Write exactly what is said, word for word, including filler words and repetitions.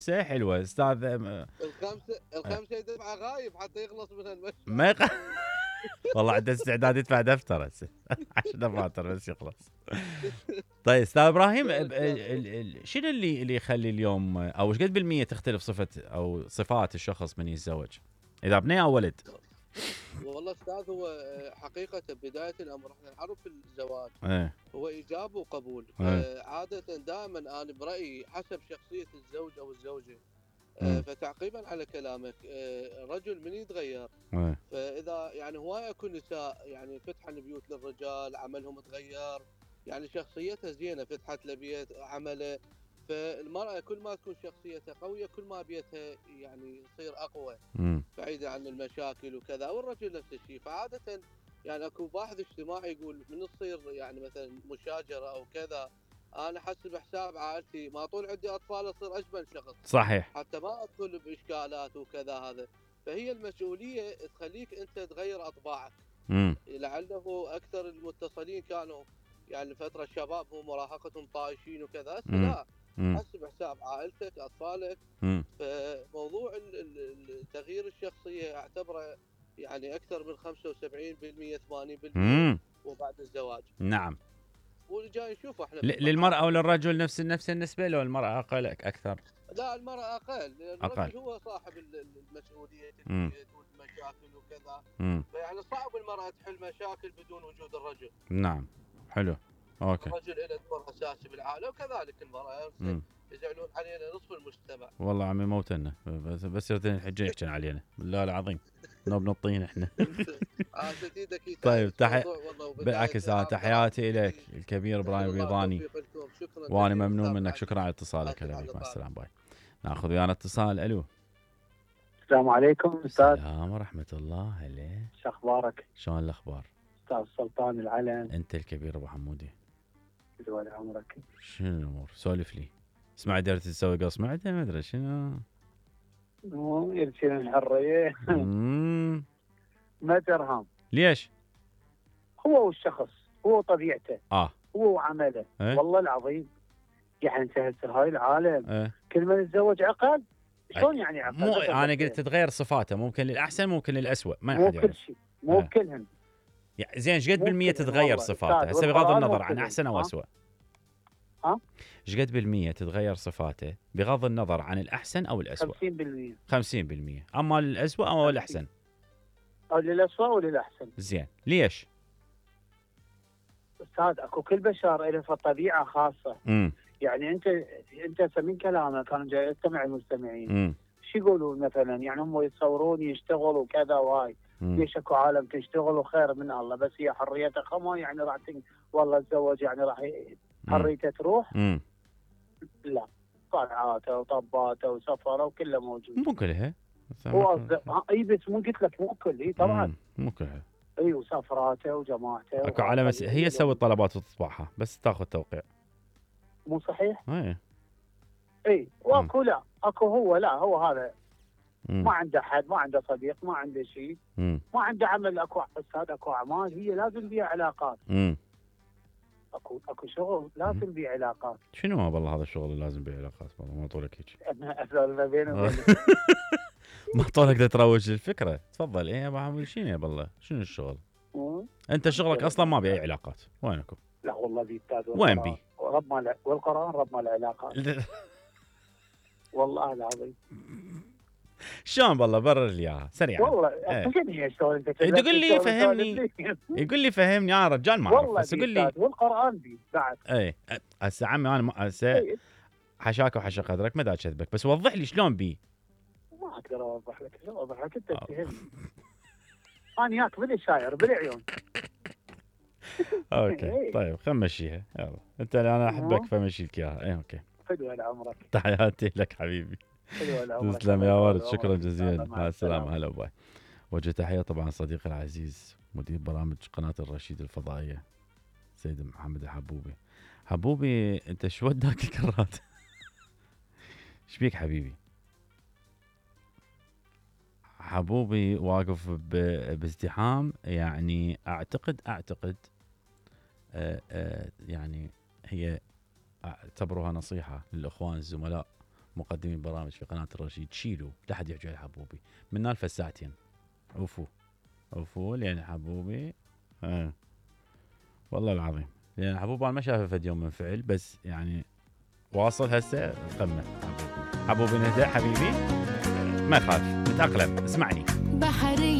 حلوه استاذ. الخمسه الخمسه يدفع غايب حتى يخلص من المشروع. ما يق... والله عنده استعداد يدفع دفتر هسه عشان دفاتر بس يخلص. طيب استاذ ابراهيم، شنو اللي اللي يخلي اليوم او ايش قد بالمية تختلف صفه او صفات الشخص من يتزوج، اذا بنيه او ولد؟ والله استاذ هو حقيقه بدايه الامر احنا نعرف الزواج ايه. هو ايجاب وقبول. ايه. عاده دائما انا برايي حسب شخصيه الزوج او الزوجه. مم. فتعقيبا على كلامك، الرجل من يتغير. ايه. فاذا يعني هوايه اكو نساء يعني فتحن بيوت للرجال، عملهم تغير، يعني شخصيتها زينه، فتحت له بيت عمله. فالمراه كل ما تكون شخصيتها قويه كل ما بيتها يعني يصير اقوى، بعيده عن المشاكل وكذا. والرجل نفس الشيء. فعاده يعني اكو باحث اجتماعي يقول من تصير يعني مثلا مشاجره او كذا، انا حسب حساب عائلتي ما طول عندي اطفال اصير اجمل شخص. صحيح. حتى ما ادخل باشكالات وكذا. هذا فهي المسؤوليه تخليك انت تغير اطباعك. امم لعله اكثر المتصلين كانوا يعني فتره شبابهم مراهقتهم طايشين وكذا. هسه لا، حسب حساب عائلتك اطفالك. مم. فموضوع تغيير الشخصيه اعتبره يعني اكثر من خمسة وسبعين بالمية ثمانين بالمية وبعد الزواج. نعم. واللي جاي نشوفه احنا للمراه وللرجل نفس نفس النسبه، لو المراه اقل اكثر؟ لا المراه اقل. الرجل أقل. هو صاحب المسؤوليه البيت والمشاكل وكذا. فيعني صعب المراه تحل مشاكل بدون وجود الرجل. نعم. حلو. اوكي. الرجل له دور اساسي بالعائله وكذلك المراه. يزعلون علينا نصف المجتمع. والله عمي موتنا بس بس الحجه يحكي علينا بالله العظيم. نوب نطين احنا. طيب تحي... بالعكس انا تحياتي لك الكبير ابراهيم البيضاني، وانا ممنون منك. شكرا على اتصالك. هلا بك، مع السلامه. باي. ناخذ ويانا اتصال. الو. السلام عليكم استاذ. السلام ورحمه الله. هلا شو اخبارك؟ شلون الاخبار؟ استاذ سلطان العلم. انت الكبير ابو حمودي. طول عمرك. شنو الامور؟ سولف لي. اسمع درت تسوي قص معده ما ادري شنو. مو يرسل الحريه. ما ترهم. ليش؟ هو والشخص، هو طبيعته، اه هو وعمله. ايه؟ والله العظيم يعني انت هسه هاي العالم ايه؟ كل من يتزوج عقل. شلون يعني عقل؟ مو انا قلت تتغير صفاته، ممكن للاحسن ممكن للاسوء، ما مو كل شيء، مو اه. كلهم. يعني زين ايش قد بالمية تتغير صفاته هسه بغض النظر عن احسن او اسوء؟ ها؟ ايش قد بالمية تتغير صفاته بغض النظر عن الاحسن او الاسوء؟ خمسين بالمية. خمسين بالمية. اما للاسوء او الاحسن؟ او للاسوء وللاحسن. زين ليش؟ استاذ اكو كل بشر له طبيعه خاصه. امم يعني انت انت من كلامك كانوا جاي يستمع المستمعين شو يقولون مثلا؟ يعني هم يتصورون يشتغلوا كذا وهاي. ليش اكو عالم تشتغل وخير من الله، بس هي حريتها خمو يعني راح تن... والله تزوج يعني راح حريته تروح؟ امم لا، طلعاته وطباته وسفره وكله موجود. مو كلها. هو اي بس مو قلت لك مو كل. اي طبعا مو كلها. اي وسفراته وجماعته اكو على مس... هي تسوي الطلبات وتطبعها بس تاخذ توقيع. مو صحيح؟ اي اي واكو لا اكو هو لا هو هذا مم. ما عنده حد، ما عنده صديق، ما عنده شيء، ما عنده عمل. اكو استاذ اكو اعمال هي لازم بيها علاقات. مم. اكو اكو شغل لازم بيه علاقات. شنو ما بالله هذا الشغل اللي لازم بيه علاقات؟ والله ما طولك هيك. ما بينه ما طولك تروج الفكره. تفضل. ايه يا ابو حمود شنو يا بالله شنو الشغل؟ مم. انت شغلك اصلا ما بيه علاقات. وينكم؟ لا والله بيه استاذ. وين بيه؟ رب ما والقران رب ما العلاقات. والله العظيم. شلون بالله برر لي اياها سريعا. والله فهمني شلون انت تقول لي فهمني. يقول لي فهمني انا رجال ما اعرف بس يقول لي والقران بي بعد. اي هسه عمي انا هسه حشاك وحشا قدرك ما دا كذبك بس وضح لي شلون بي. ما اقدر اوضح لك. شلون اوضح لك؟ انت تفهمني. انا ياك بالشاعر بالعيون. اوكي طيب خلينا نمشيها يلا. انت انا احبك فمشي لك اياها. اي اوكي. حلو على عمرك. تحياتي لك حبيبي. تسلم يا ورد. شكرا جزيلا. مع السلامه. هلا باي. وجه تحيه طبعا صديقي العزيز مدير برامج قناه الرشيد الفضائيه سيد محمد الحبوبي. حبوبي انت شو وداك الكرات؟ ايش بيك حبيبي؟ حبوبي واقف بازدحام. يعني اعتقد اعتقد آآ آآ يعني هي اعتبروها نصيحه للاخوان الزملاء مقدمين برامج في قناه الرشيد شيلوا لا حد يحكي على حبوبي من نال فساعتين عفو عفو لان حبوبي اه والله العظيم لان حبوبي انا ما شافه فد يوم منفعل بس يعني واصل هسه قمه حبوبي حبوبي نهدى حبيبي ما يخالف نتاقلم اسمعني بحري